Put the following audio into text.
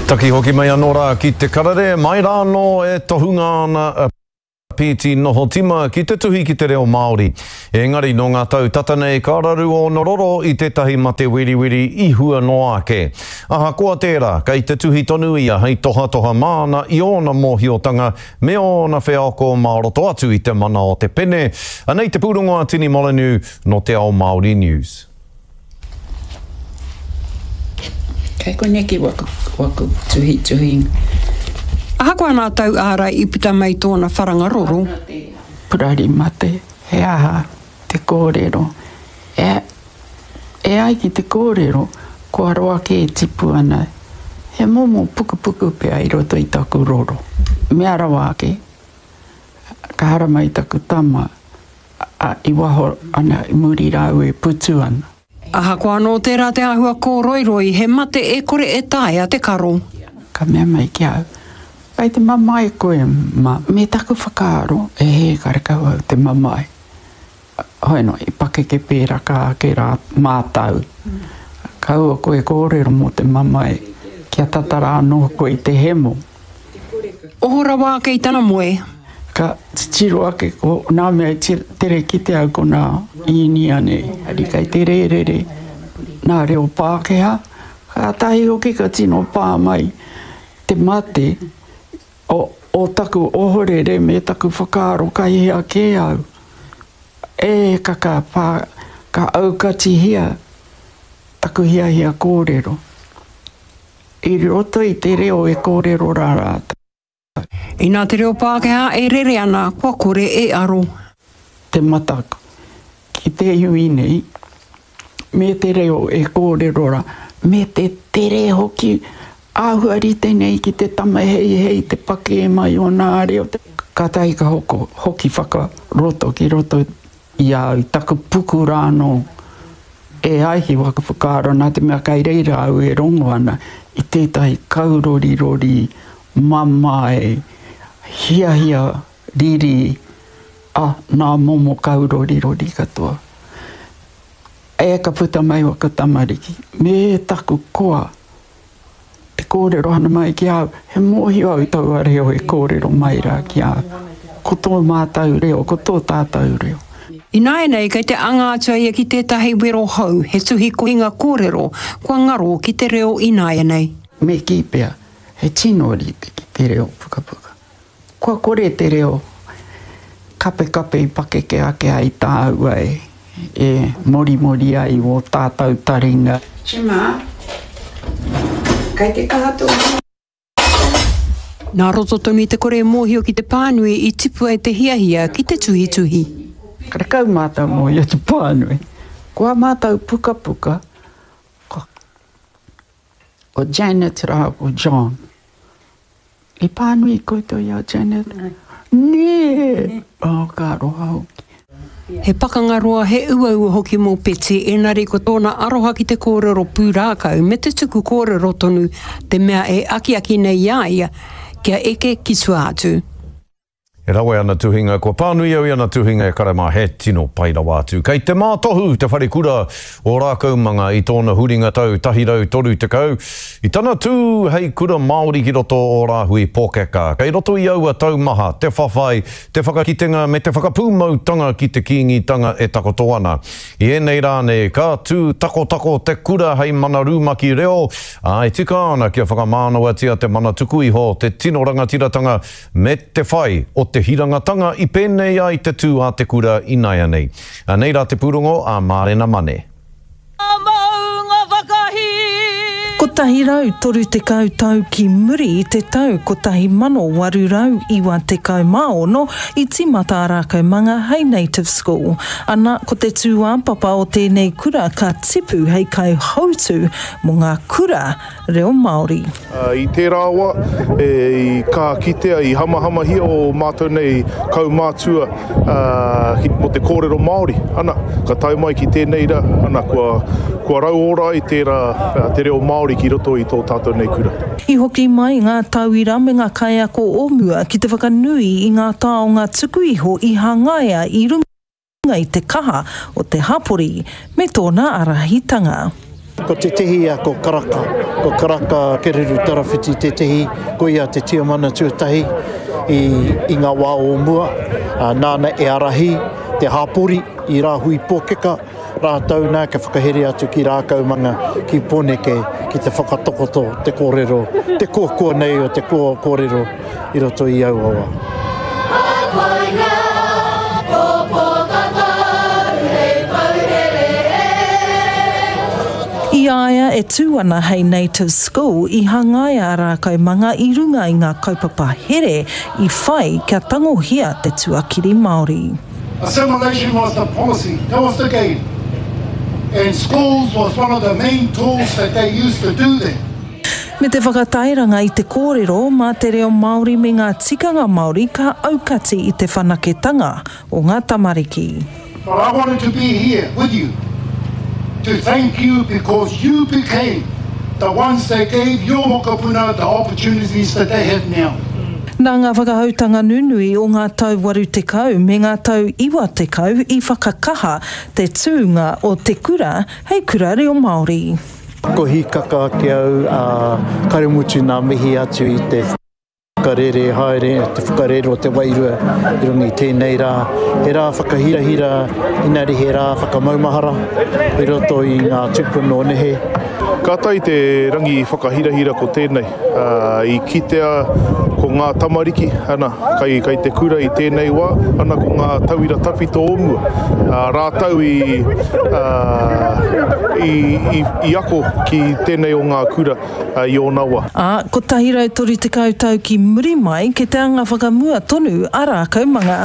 Taki hoki mai anō rā ki te karere, mai rā anō e tohunga ana a Pīti Nohotima ki te tuhi ki te reo Māori. Engari nō ngā tau tata nei ka raru ōna roro i tētahi mate weriweri i hua noa ake. Ahakoa tērā, kei te tuhi tonu ia hei tohatoha māna i ōna mōhiotanga me ōna wheako mā roto atu i te mana o te pene. Anei te pūrongo a Tini Molyneux nō Te Ao Māori News. Kei koneki waku, waku tuhituhinga. Ahakoa nā tau ārai i puta mai tōna wharanga roro. Purari mate, he aha te kōrero? E, e ai ki te kōrero, kua roa kē e tipu ana he momo pukupuku pea i roto i taku roro. Mea rawa ake, ka haramai taku tama, A, i waho ana, i muri rāua e putu ana. Ahakoa anō tērā te āhua kōroiroi, he mate e kore e taea te karo. Ka mea mai ki a au, Kei te mamae koe, ma. Me taku whakaaro, e hē, karekau au te mamae. Hoi noa, i pakeke pēraka ake rā mātau. Kaua koe kōrero mō te mamae, kia tata rā anō koe i te hemo. Oho rawa ake i tana moe. Ka titiro ake ko nā mea i tere kite au ko nā Īnia nei, ari kei te rērere nā reo Pākehā, kātahi hoki ka tino pā mai te mate o, o taku ohorere me taku whakaaro kai hea kē au. E ka ka pā, ka aukatihia taku hiahia kōrero. I roto i te reo e kōrero rā rātou. Inā te reo Pākehā e rere ana, kua kore e aro. Te mataku ki te iwi nei, me te reo e kōrero rā, me te tere hoki, āhua rite nei ki te tama heihei te pakē mai o nā reo. Kātahi ka hoko, hoki whakaroto ki roto i a au, taku puku rā anō. E ai ki waku whakaaro, nā te mea kai reira au e rongo ana i tētahi kaurorirori mamae, hiahia, riri, a, nā momo kaurorirori katoa. E ka puta mai waku tamariki, me taku koa Te kōrero ana mai ki a au, he mōhio au i taua reo e kōrero mai rā ki a au. Ko tō mātau reo, ko tō tātau reo. Ināianei kei te anga atu a ia ki tētahi wero hou, he tuhi kohinga kōrero kua ngaro ki te reo ināianei. Me kī pea, he tino rite ki te reo pukapuka. Kua kore te reo kapekape i pakeke ake ai tāua e morimori ai wō tātau taringa. Chima, kei te kaha tō hoa. Nā roto tonu i te kore mōhio ki te pānui i tipu ai te hiahia ki te tuhituhi. Karekau mātau mōhio te pānui. Ko ā mātau pukapuka, ko Janet rāua ko John. I pānui koutou i a Janet? Nē! Oh, ka aroha hoki. He pakanga roa, he uaua hoki mō Betsy, engari ko tōna aroha ki te kōrero pūrākau me te tuku kōrero tonu te mea e akiaki nei i a ia kia eke ki tua atu. E rawe ana tuhinga, kua pānui au i ana tuhinga e kare mā, he tino pai rawa atu. Kei te mātohu te wharekura o Rākaumanga i tōna huringa tau 130, i tana tū hei kura Māori ki roto o Rāhui Pōkeka. Kei roto i aua tau maha te whawhai, te whakakitenga me te whakapūmautanga ki te Kīngitanga e takoto ana. I ēnei rā nei, ka tū takotako te kura hei mana rumaki reo, ā, e tika ana kia whakamānawatia te mana tuku iho, te tino rangatiratanga Me te whai o te hirangatanga i pēnei ai te tū a te kura inaianei. Anei rā te pūrongo a Mārena Mane. 130 tau ki muri i te tau 1896 i tīmata a Rākaumanga hei Native School. Ana, ko te tūāpapa o tēnei kura ka tipu hei kaihautū mō ngā kura reo Māori. I tērā wā, i kaha kitea, i hamahamahia ō mātou nei kaumātua mō te kōrero Māori. Ana, ka tae mai ki tēnei rā, ana, kua, kua rauora ai tērā, te reo Māori ki roto i tō tātou nei kura. I hoki mai ngā tauira me ngā kaiako o mua ki te whakanui i ngā taonga tuku iho i hangaia i runga i te kaha o te hapori me tōna ārahitanga. Ko tētehi ia ko Karaka, ko Karaka Kereru Tarawhiti tētehi, ko ia te tiamana tuatahi i, i ngā wā o mua, nāna e ārahi te hāpori i Rāhui Pōkeka, rātou nā ka whakahere atu ki Rākaumanga, ki Pōneke, ki te whakatakoto te kōrero, te koakoa nei o te kōrero i roto i aua wā. I a ia e tū ana hei Native School, i hangaia a Rākaumanga i runga i ngā kaupapa here i whai kia tangohia te tuakiri Māori. Assimilation was the policy, that was the game and schools was one of the main tools that they used to do that. Me te whakatairanga i te kōrero mā te reo Māori me ngā tikanga Māori ka aukati i te whanaketanga o ngā tamariki. But I wanted to be here with you to thank you because you became the ones that gave your mokopuna the opportunities that they have now. Nā ngā whakahoutanga nunui o ngā tau 80 me ngā tau 90 i whakakaha te tūnga o te kura hei kura reo Māori. Ko hīkaka ake au, ā, kare mutu nā mihi atu i te whakarere haere, te whakarere o te wairua i runga i tēnei rā. He rā whakahirahira, inari he rā whakamaumahara i roto i ngā tūpuna o nehe. Kātahi te rangi whakahirahira ko tēnei. I kitea ko ngā tamariki, ana, kai, kai te kura i tēnei wā, ana ko ngā tauira tawhito o mua. Rātou i, i, i, i ako ki tēnei o ngā kura i ōna wā. Ā, 130 tau ki muri mai, ke te anga whakamua tonu a Rākaumanga.